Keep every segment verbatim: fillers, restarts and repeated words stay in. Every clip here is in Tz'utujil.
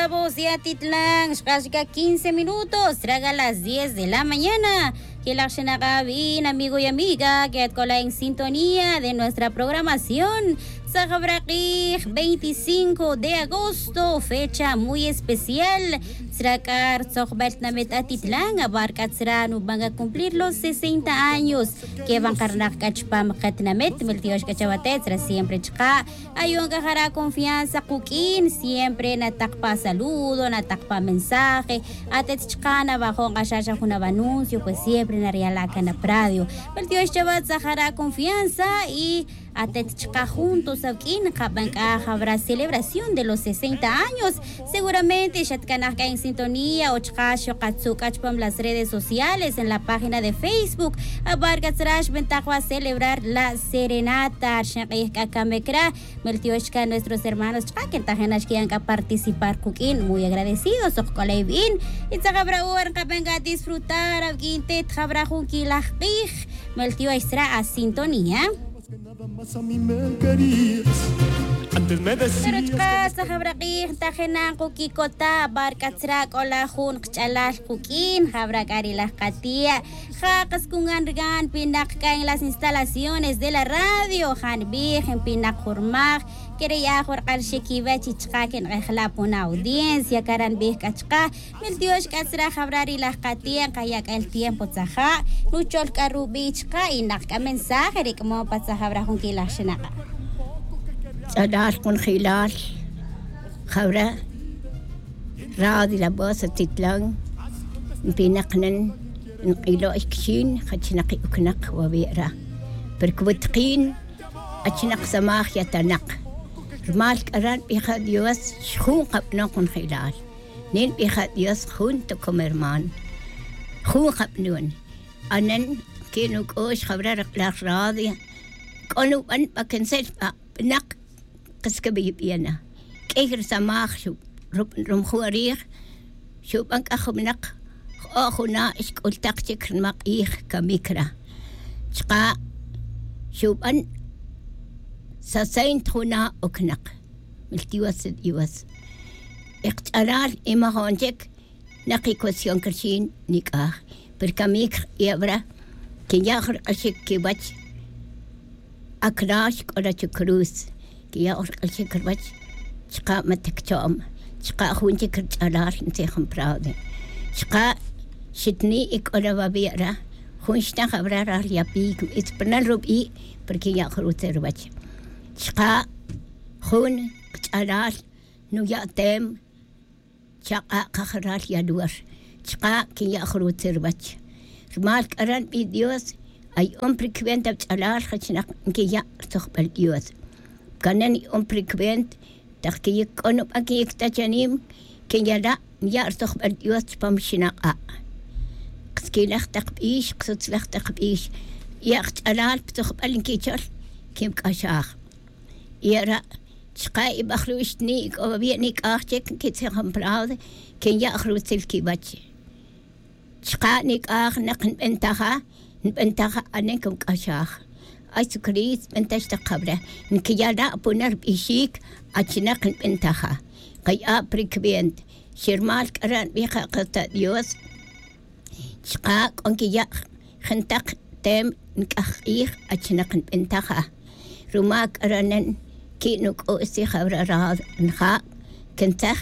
Voz de Atitlán, xq'ax k'a quince minutos, traga las diez de la mañana. Quilaj xinak'a' bien, amigo y amiga, que atc'ola' en sintonía de nuestra programación. Tzajabra' k'ij, veinticinco de agosto, fecha muy especial. Tzra k'a rtzojbel tinamet Atitlán, abar k'a tzra nuban k'a cumplir los sesenta años. Que van qarnaj k'a chupam qatinamet, mil tiox k'a chawate', tzra siempre chqa'. Ayon k'a jara' confianza quk'in, siempre nataq pa saludo, nataq pa mensaje. Atet chqa' nabajon k'a xa xa jun avanuncio, pues siempre nariyala' can apradio. Mil tiox chawat, tzajara' confianza y atet chqa' juntos awk'in nqaban k'a jabra celebración de los sesenta años. Seguramente xatcanaj k'a en sintonía o chqa' xoqatzu' k'a chupam las redes sociales, en la página de Facebook. Abar k'a tzra xbentaq wa celebrar la serenata, rxin k'ij k'a kamik ra. Mil tiox chka nuestros hermanos chka' que ntajin nax ki'an k'a participar quk'in, muy agradecidos, oj k'ola' ibin. Y tzajabra' hora nqaban k'a disfrutar awk'in tet jabra' jun quilaj k'ij. Mil tiox tzra a sintonía. Pero chka tzajabra' k'ij ntajin na nqukikota' abar k'a tzra k'ola' jun qch'alal quk'in, jabra' k'a ri laj qati'a'. Ja qas kungan rigan npinak k'a en las instalaciones de la radio, ja nbij npinak jurmaj. Kere' ya jun rk'alxik kiwech y chka' que nq'ejla' pon audiencia, cara' nbij k'a chka'. Mil tiox k'a tzra jabra' ri laj qati'a', nqaya' k'a el tiempo tzaja', nuchol k'a rubi' chka' y naq k'a mensaje ri k'amon pa tzajabra' jun quilaj xinak'a'. Ch'alal kunjilal jabra' Radio La Voz Atitlán, npinak nan, nk'ilo' xkixin, jachnaq y uknaq wawe' ra. Pero cwutqin, achnaq samaj yatanaq. Rumal k'ara' nbij a Dios, xjun qab'anon kunjilal. Nin nbij a Dios, jun ta como hermano. Jun qab'anon. Anen, que nuk'ux jabra' raq'laj radio. K'o nuban pa quencel pa b'naq. Qas que b'ib'iana. K'ey risamaj xu-, ru-, rumju' rij, xuban k'a jumnaq, jo'o juna' xk'ultaq chic ri nimaq'ij camic ra. Chka' xuban sesenta juna' ocnaq. Mil Dios, Dios. Y kach'alal y majon chic, naq y cuestión crixin nik'aj, pero camic y abra, quinya' jun rik'axic quiwach. Acrax c'o ra chucruz, quiya' jun rik'axic ruwach. Chka' ma ta cachom, chka' jun chic rich'alal ntzijom prado. Chka' xitni' y c'o ra wawi' ra, jun xnaj abra ral yapi, cubitz pa nan rubi', pero quinya' jun ruwutzel ruwach. Chka' jun kach'alal nuya' tem, chak'a' kajaral yalor, chka' quinya' jun ruwutzel ruwach. Rumal c'ara' nbij Dios, aya'on pa ri cuenta wach'alal jachnaq nquiya' rutojbal Dios. Canan ya'on pa ri cuenta, tak quiyic c'o nuban quiyic ta chanim, quinyala' niya' rutojbal Dios chupam xinak'a'. Qas quilaj tak bix, qas utzlaj tak bix, ya' kach'alal pa tojbal nquichol, quimc'axaj. Y ara' chka' y bajru' xtni' y c'o wawi' nik'aj chic nquitzijom prado, quinya' jun ruwutzel quiwach. Chka' nik'aj nak nbentaja, nbentaja anen cumc'axaj. Ay Jesucristo, bentax tak jabra', nquiyala' puna rubixic, achinak nbentaja. Kaya' pa ri cuenta, xirmal c'ara' nbij ka kata' Dios. Chka' c'o nquiya' jentak tem nc'aj k'ij, achinak nbentaja. Rumal c'ara' nen qui' nuc'u'x tzij abra' rado nja' quintzaj,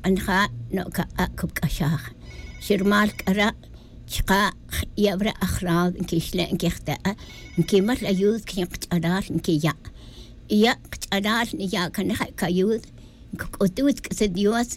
nja' no'ca k'a' cumc'axaj. Xirmal c'ara' chka' y abra' aj rado nquixle' nquijte'a, nquimal ayuda quixin kach'alal nquiya'. Y ya' kach'alal niya' can ja' cayuda, ncuc'utuj tz'aq'uis Dios,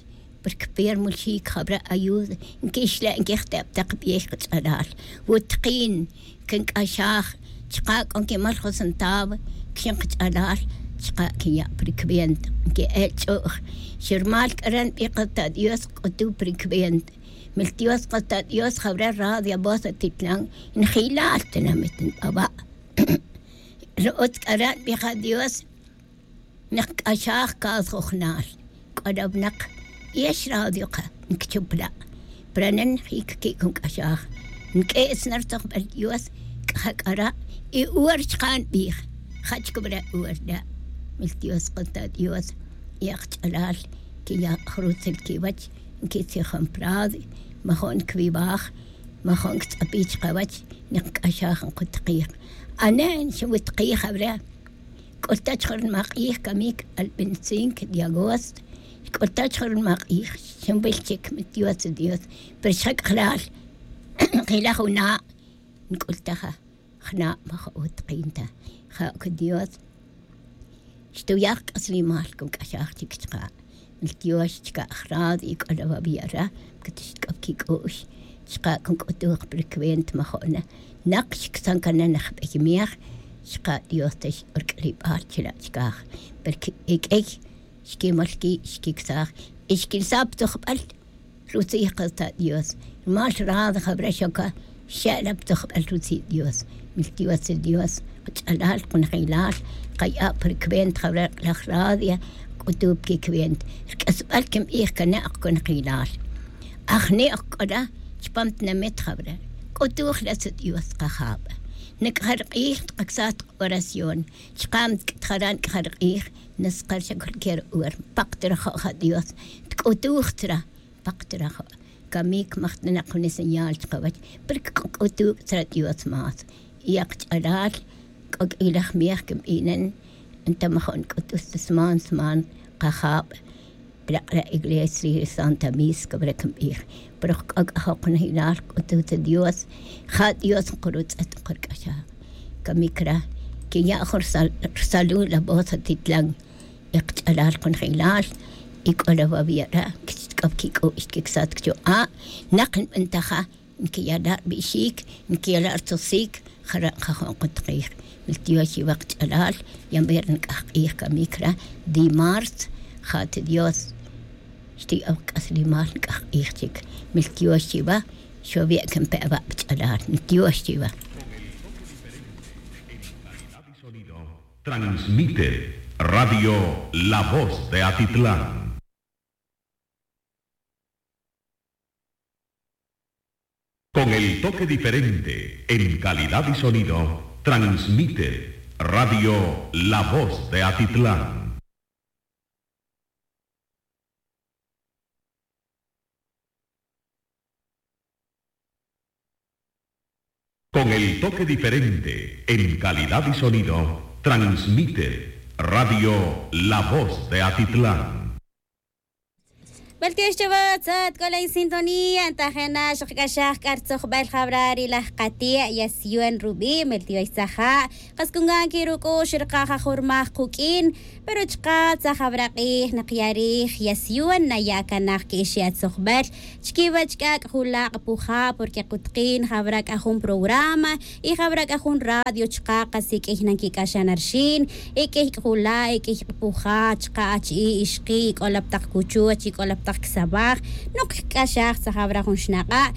porque pe rmulxic jabra' ayuda nquixle' nquijte' pa tak bix kach'alal. Wutqin, quinc'axaj, chka' c'o nquimal jun centavo quixin kach'alal, chka' quinya' pa ri cuenta, nqui'el ch'u'j. Xirmal c'ara' nbij kata' Dios, cc'utuj pa ri cuenta. Mil Dios kata' Dios, jabra' radio Voz Atitlán, njilal tinamit nbaba'. Ri utz c'ara' nbij a Dios, nak nc'axaj cada jujnal. C'o ra winak y ex radio ka nquichupla'. Pero nen jic qui' cunc'axaj, nq'ue's na rutojbal Dios, c'a ja c'ara' y hora chka' nbij. Ja' chic wara' hora ra'. Mil Dios kata' Dios, y aj kach'alal Quiya' jrutzel quiwech, nquitzijom prado, majo'n cwiwaj, majo'n ctz'api chkawech, nic'axaj nkutikij. Ane' nxinwitikij awre'. C'ulta chjun rnimak'ij camic al veinticinco de agosto. C'ulta chjun rnimak'ij, xinwil chic mi dios dios. Pero xjac'ajlal jilaj juna', nc'ultaja jna' ma ja utqin ta. Ja' que dios xtuyaj c'aslimal con c'axaj chic chka'. Miltiox chka' jrad y c'o la wa' wi'ara que tixtc'op quic'u'x. Chka' con c'utuj pa ri cuenta ma jo'na. Nak xicsan cana najbey miej. Chka' dios ta x'orq'uilibal chila' chkaj. Pero que eq'uey xquimol qui' xquicsaj y xquilsa' pa tzujbel rutzij kata' dios. Rumal rad jawra xoca xe'la pa tzujbel rutzij dios. Miltiox ri dios, kach'alal kunajilal, kaya' pa ri cuenta jawra laj radio. C'utu' pa quicuenta ri c'asbel quinbij cana' ok kunajilal. Ajni' ok c'ora chupam tinamit jawra. C'utuj la tzij dios kajab. Nac'aja ri k'ij tkacsaj oración. Chka' ntc'atjara' nc'aja ri k'ij. Naskar xa cualquier hora npak ta rajo' ja dios. Tic'utuj ta ra. Npak ta rajo'. Camic majtanak jun señal chkawech. Pero c'utu' ta ra dios más. Y akch'alal c'o q'uilaj miej quinbinen. Enta majo' nc'utus ta sman sman kajab. Pero ak'ara' iglesia ri santa misa cawra quinbij. Pero c'o c'ajo' kunajilal c'utu' ta dios. Ja dios nkurutz'et nkurc'axaj. Camic ra quiya' jun rsalul la voz atitlan. Y kach'alal kunajilal. Y c'o la wa' wi'ara que xtc'op quic'u'x quicsat cchu a'. Nak nbentaja nquiyala' rbixik, nquiyala' rtzujsic. Jara' nkajo' nkutikij. Miltiox chiwa kach'alal. Yamber nc'aj k'ij camic ra. Di marzo ja ta dios xti'oc c'aslimal nc'aj k'ij chic. Miltiox chiwa. Xowi' quinpe' awa' pa ch'alal. Miltiox chiwa. Transmite Radio La Voz de Atitlán. Con el toque diferente en calidad y sonido, transmite Radio La Voz de Atitlán. Con el toque diferente en calidad y sonido, transmite Radio La Voz de Atitlán. Meltiox chawa tzat c'o la en sintonía ntajena xakc'axaj c'a rtzojbel jawra ri laj kati' yasiyon rubi'. Meltiox tzaja'. Kas con gan que ruc'ux rkaja jun rmaj kuq'uin. Pero chka' tzaj jawra k'ij nak ya rij yasiyon naya' canaj que'exe' atzojbel chiquiwech c'a c'ajulak' puja' porque kutkin jawra c'a jun programa y jawra c'a jun radio chka' kasi q'uiy nanquic'axan arxin. Y q'uiy c'ajula' y q'uiy puja' chka' achi'i' ixki' y c'o la pa tak cuchuch y c'o la pa tak quisamaj. Nok cc'axaj tzaj jawra jun xnak'a'.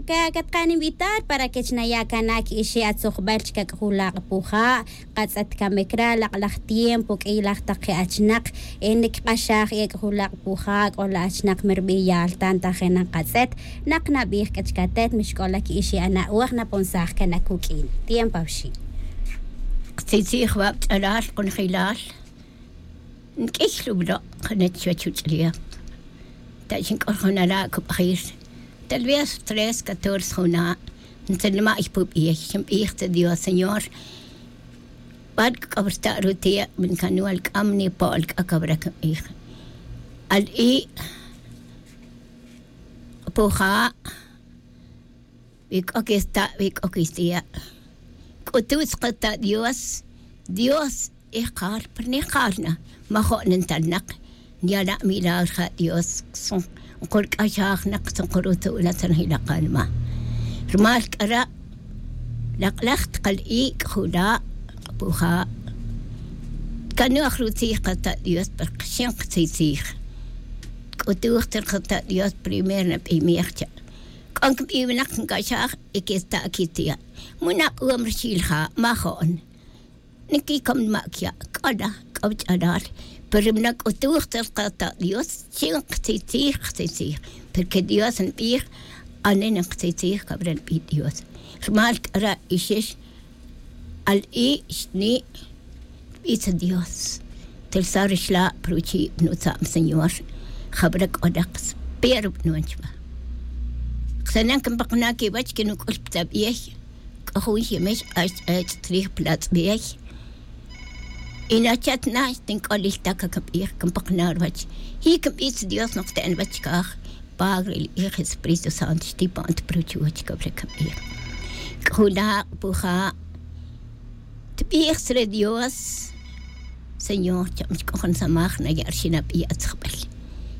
Catkan invitar para que chnaya' canaj que'exe' atzojbel chca c'ajulak' puja'. Katz'et camic ra lak'laj tiempo q'uiylaj tak je' achinak. Niquik'axaj y ec'ajulak' puja' c'o la achinak mi rbiyal ta ntajena nkatz'et. Nak nabij c'a chic atet mi xc'ola que'exe' ana'oj naponsaj cana cuq'uin tiempo awxi'. Ktzitzij wa' pa ch'alal kunajilal. Nq'uiy rublo' jun chuwech uch'lef. Ta xinc'ol jun ala' cubajir. Tal vez tres catorce juna'. Ntzalma' ypubij xinbij ta dios señor. Bal c'o rta' ruti' mi ncanwal c'am nipo'l c'a cawra quinbij. Al i' puja'. Wi c'o quista' wi c'o quista'. C'ututz kata' dios. Dios ijkal pero nijkal na. Majo' nintalnak. Nyala' milagro ja dios. Nkurc'axaj nak nkurutu' na tzanjila' kanma. Rumal c'ara' lak'laj tkal ic' jula' puja'. Tkanoj rutzij kata' dios pero xin ktzitzij. Tk'utuj tzil kata' dios primer nabimej cha'. C'o nquibi winak nc'axaj y quista' quitiya'. Munak'om rixil ja' majo'n. Niquicom nima' quiya' c'o la c'o ch'alal. Pero ri mi nac'utuj tzil kata' dios chin ktzitzij ktzitzij. Porque dios nbij. Ane' ninktzij tzij cabra nbij dios. Rumal c'ara' ixix al i' xni'. Nbij tzij dios. Telsa' rixla' pa ruchi' pa nutza'm señor. Jab'ra k'o raq spero b'nuwan chwa. Qsanan kinpaqna' kiwach kinuq'ul pta b'ey. K'o jun ximex q'ax ch'ech' trij platz'b'ey. Y nachat na xtink'olil ta kakab'ij kinpaqna' rwach. Y kinb'ij Dios noq te'n wach kaj. Padre, el Hijo, Espíritu Santo, xtipan ta pruch wach kab'ra kab'ij. K'o jun laq' puja'. Tb'ij sre Dios, Señor, cham xk'ojon samaj naya' rxinab'i' atzjb'al.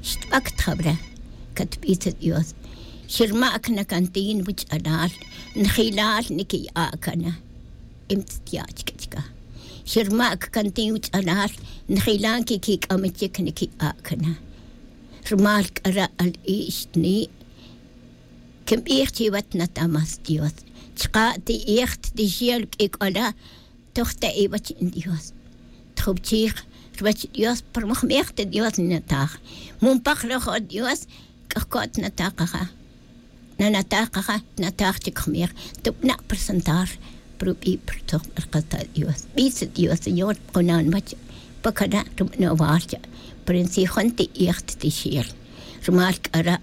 Xtb'ak tjab'ra, katb'ij sre Dios. Xirma'k na kantin wuch'alal, njilal nikiya' kana. Im tztya' chk'achka. Xirma'k kantin wuch'alal, njilan kikik'am chik nikiya' kana. Rmal k'ara' al ixtni'. Kinb'ij chiwa tnata' más Dios. Chqa' ti'ij ttixel k'ik'ola toj ta iwach in Dios. Tjubchij rwach Dios, pero mujmej ta Dios ninataj. Mumpaj rojo Dios, k'ajko' tnataj qaja. Nanataj qaja, tnataj chik jmej. Tub'na' presentar, pero b'i' pero tojb'al qata' Dios. B'i' sa Dios, Señor, qunan wach, pakana' rub'na' wal cha'. Pero in si jun ti'ij ttixel. Rumal k'ara',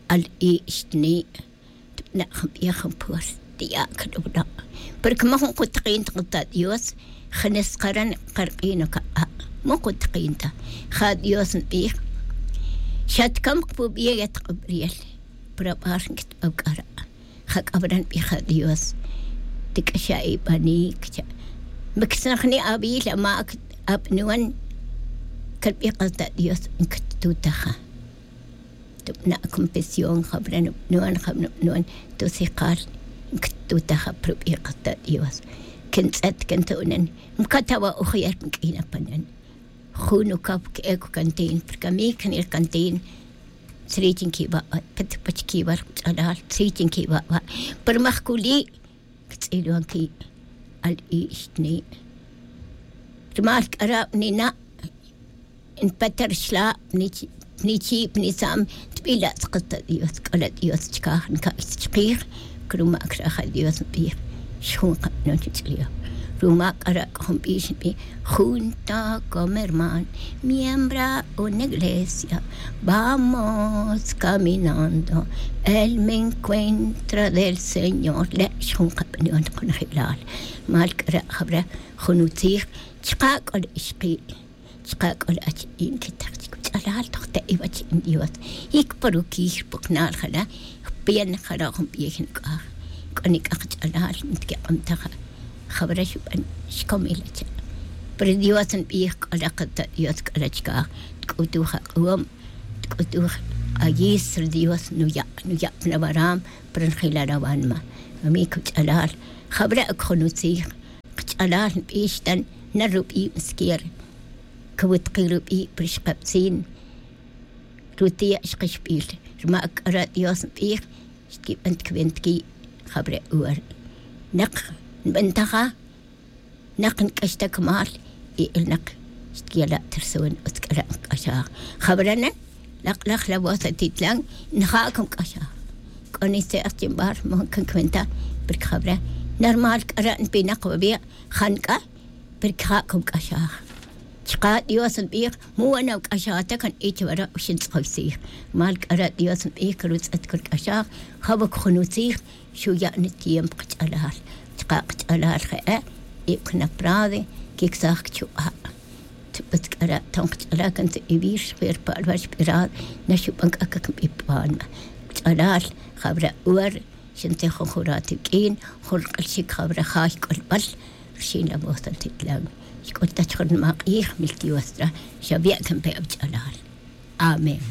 al ixtni', tb'na' jun b'ej jun puerta, tiya' kalub'na'. Pero como jun qutaqin ta qata' Dios, janes qaran qarq'in kaq'a'. Mo qutaqin ta. Ja Dios nb'ij. Xa tkam qpub'ey yatq'ub'riyel. Pero ab'ar nkitb'aw k'ara'. Ja k'ab'ra nb'ij ja Dios. Tik'axa' ib'anik, cha'. Miksnajni' awil, amak, ab'nuwan. Kalb'ij qata' Dios, nkttutaja. Tub'na' confesión, jab'ra nub'nuwan, jab'ra nub'nuwan, tusijal, nktutaj aprub'i' qata' Dios. Kin tz'et, kin tu'nan, mkatawa' ojiyar nk'ina panan. Jun ukaw k'ek kantin, porque a mí kanil kantin, tzri chin kiwa', pet pach kiwa' ch'alal, tzri chin kiwa', pero majkuli', ktz'ilwan ki' al ixtni'. Rumal k'ara' nina', npet rxla', nichi', nichi', nisam, tb'ila' tzqata' Dios, k'ala' Dios chkaj, nka'y chkij, kruma' kraja' Dios nb'ij, xjun qab'anon ch'lioj. Ruma k'ara' k'o jun b'ix nb'ij, junto como hermano, miembro una iglesia, vamos caminando, el encuentro del Señor, le' xjun qab'anon qonojilal. Mal k'ara' jab'ra jun utzij, chqa' k'o le ixqi'. Chqa' k'o la achi'in kitaj chik wach'alal toj ta iwach in Dios. Y kparukij rpuqnal jala, jpian jala jun b'ey nuk'aj. K'o nik'aj ch'alal, ntikiq'om ta ja. Jab'ra xub'an xkomil acha'. Pero Dios nb'ij k'o la qata' Dios k'o la chkaj. Tk'utuj aq'om, tk'utuj q'ayis, ri Dios nuya', nuya' pan awaram, pero njilal awanma. Amik wach'alal, jab'ra ok jun utzij. Qach'alal nb'ix tan na rub'i' msquier. Kawutqi' rub'i' pero xqab'tzin. Rutiya' xqixb'il. Ruma k'ara' Dios nb'ij, xtkib'an tkwenta ki' jab'ra uwar. Naq nb'antaja, naq nk'ax ta kmal, y el naq xtkiyala' terson utz k'ara' nqk'axaj. Jab'ra nan, laq'laj la voz atitlan, nja' kan k'axaj. K'o ni se'j chin b'ar, mo kan kwenta, porque jab'ra, normal k'ara' npinaq wawi', jan k'a, porque ja' kan k'axaj. Chqa' Dios nb'ij, mu wan awk'axaj ta kan ich wara' uxin tz'oy tzij. Mal k'ara' Dios nb'ij, que rutz'et kan k'axaj, jab'ok jun utzij, xuya' nitiempo qach'alal. Chqa' qach'alal je'e', y kan aprade, kiksaj kchuq'a'. Tz'ib'itz k'ara' ton qach'alal kan tz'ib'ir xjwer pa' rwach b'iral, na xub'an k'a kan b'i' p'anma. Qach'alal, jab'ra uwar, xintij jun jurato wik'in, jun rq'alxik jab'ra jay k'olb'al, rxin la voz atitlan. Xk'ul ta chjun nimaq'ij, mil Dios tra, xawi' kan pe awch'alal. Amén.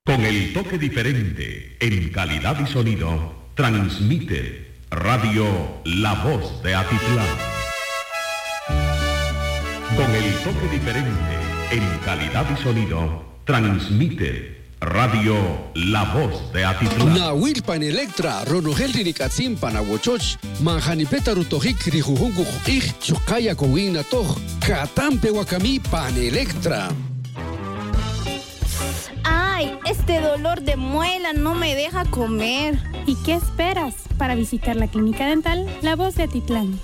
Con el toque diferente en calidad y sonido, transmite Radio La Voz de Atitlán. Con el toque diferente en calidad y sonido, transmite Radio La Voz de Atitlán. Nawil pan Electra, ronojel ri nik'atzin pan awochoch, man ja nipe ta rutojik ri jujun wuj q'ij chuqa' yakowin natoj. Katan pe wakami pan Electra. Ay, este dolor de muela no me deja comer. ¿Y qué esperas para visitar la clínica dental La Voz de Atitlán?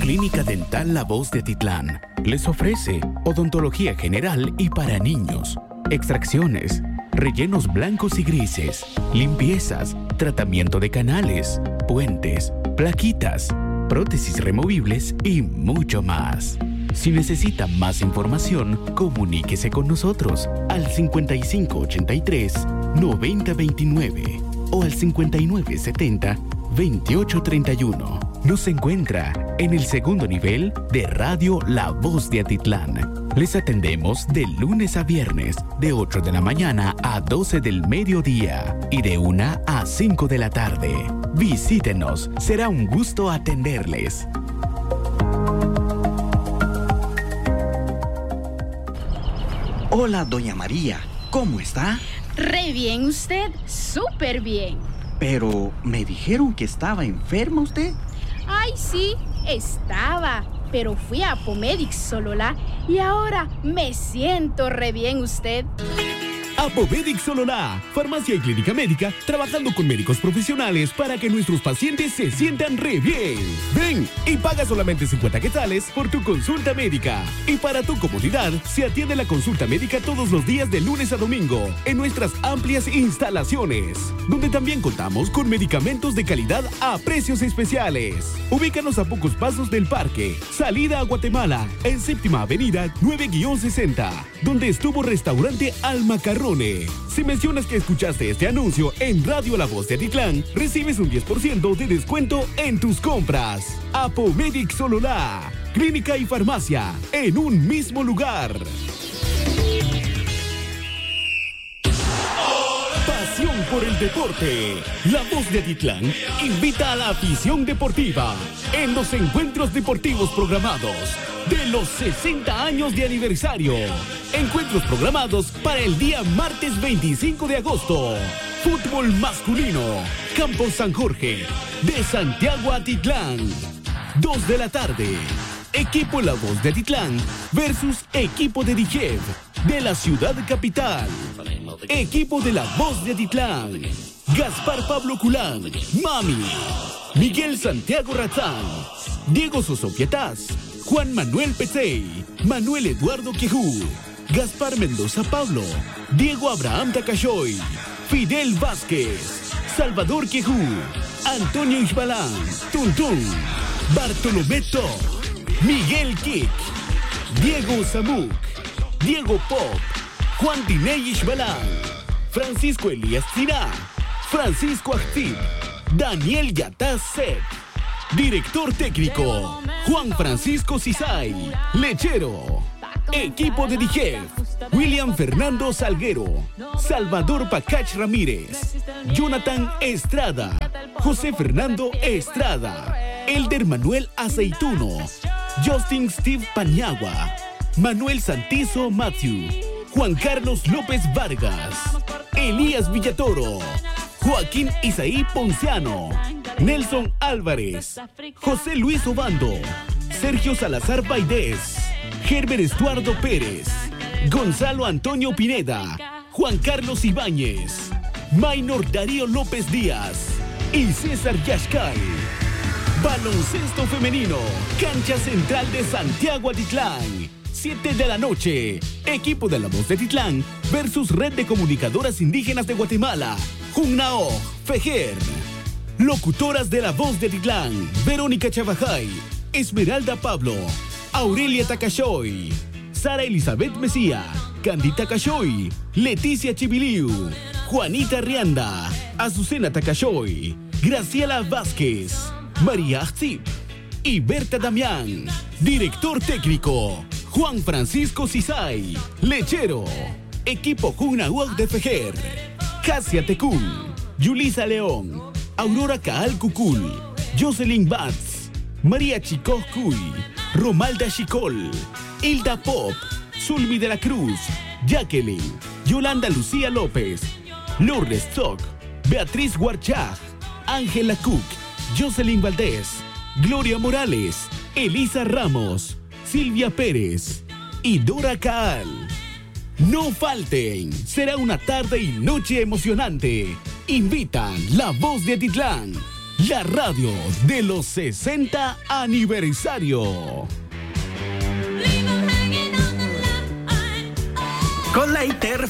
Clínica Dental La Voz de Atitlán les ofrece odontología general y para niños, extracciones, rellenos blancos y grises, limpiezas, tratamiento de canales, puentes, plaquitas, prótesis removibles y mucho más. Si necesita más información, comuníquese con nosotros al cincuenta y cinco ochenta y tres, noventa veintinueve o al cincuenta y nueve setenta, veintiocho treinta y uno. Nos encuentra en el segundo nivel de Radio La Voz de Atitlán. Les atendemos de lunes a viernes, de ocho de la mañana a doce del mediodía y de una a cinco de la tarde. Visítenos, será un gusto atenderles. Hola, doña María, ¿cómo está? Re bien, usted, súper bien. Pero me dijeron que estaba enferma usted. Ay, sí, estaba, pero fui a Apomedic Sololá y ahora me siento re bien, usted. Apomedic Sololá, farmacia y clínica médica, trabajando con médicos profesionales para que nuestros pacientes se sientan re bien. Ven y paga solamente cincuenta quetzales por tu consulta médica. Y para tu comodidad, se atiende la consulta médica todos los días de lunes a domingo en nuestras amplias instalaciones, donde también contamos con medicamentos de calidad a precios especiales. Ubícanos a pocos pasos del parque, salida a Guatemala, en Séptima Avenida nueve guion sesenta, donde estuvo Restaurante Al Macarrone. Si mencionas que escuchaste este anuncio en Radio La Voz de Atitlán, recibes un diez por ciento de descuento en tus compras. Apomedic Sololá, clínica y farmacia en un mismo lugar. Pasión por el deporte. La Voz de Atitlán invita a la afición deportiva en los encuentros deportivos programados de los sesenta años de aniversario. Encuentros programados para el día martes veinticinco de agosto. Fútbol masculino. Campo San Jorge, de Santiago a Atitlán. Dos de la tarde. Equipo La Voz de Atitlán versus equipo de Dijef, de la ciudad capital. Equipo de La Voz de Atitlán. Gaspar Pablo Culán, Mami. Miguel Santiago Razán. Diego Soso Pietaz. Juan Manuel Petzey. Manuel Eduardo Quejú. Gaspar Mendoza Pablo. Diego Abraham Tacashoy. Fidel Vázquez. Salvador Quejú. Antonio Ixbalán. Tuntún. Bartolomé Top. Miguel Quic. Diego Zamuc. Diego Pop. Juan Diney Ixbalán. Francisco Elías Tzina. Francisco Ajtzib. Daniel Yataz Set. Director técnico, Juan Francisco Cisay. Lechero. Equipo de Dijef, William Fernando Salguero, Salvador Pacach Ramírez, Jonathan Estrada, José Fernando Estrada, Elder Manuel Aceituno, Justin Steve Paniagua, Manuel Santizo Matthew, Juan Carlos López Vargas, Elías Villatoro, Joaquín Isaí Ponciano, Nelson Álvarez, José Luis Obando, Sergio Salazar Baidés, Gerber Estuardo Pérez, Gonzalo Antonio Pineda, Juan Carlos Ibáñez, Maynor Darío López Díaz y César Yashcal. Baloncesto femenino, cancha central de Santiago Atitlán. Siete de la noche, equipo de La Voz de Atitlán versus Red de Comunicadoras Indígenas de Guatemala, Junnao, Fejer. Locutoras de La Voz de Atitlán, Verónica Chavajay, Esmeralda Pablo, Aurelia Tacashoy, Sara Elizabeth Mesía, Candy Tacashoy, Leticia Chibiliu, Juanita Rianda, Azucena Tacashoy, Graciela Vázquez, María Ajtzib y Berta Damián. Director técnico, Juan Francisco Cisay. Lechero, equipo Junnao de Fejer, Casia Tecún, Yulisa León, Aurora Caal Cucul, Jocelyn Batz, María Chicoj Cuy, Romalda Chicol, Hilda Pop, Zulmi de la Cruz, Jacqueline, Yolanda Lucía López, Lourdes Tzoc, Beatriz Warchaj, Ángela Cook, Jocelyn Valdés, Gloria Morales, Elisa Ramos, Silvia Pérez y Dora Caal. No falten, será una tarde y noche emocionante. Invitan La Voz de Atitlán, La radio de los sesenta aniversario. Con la I T R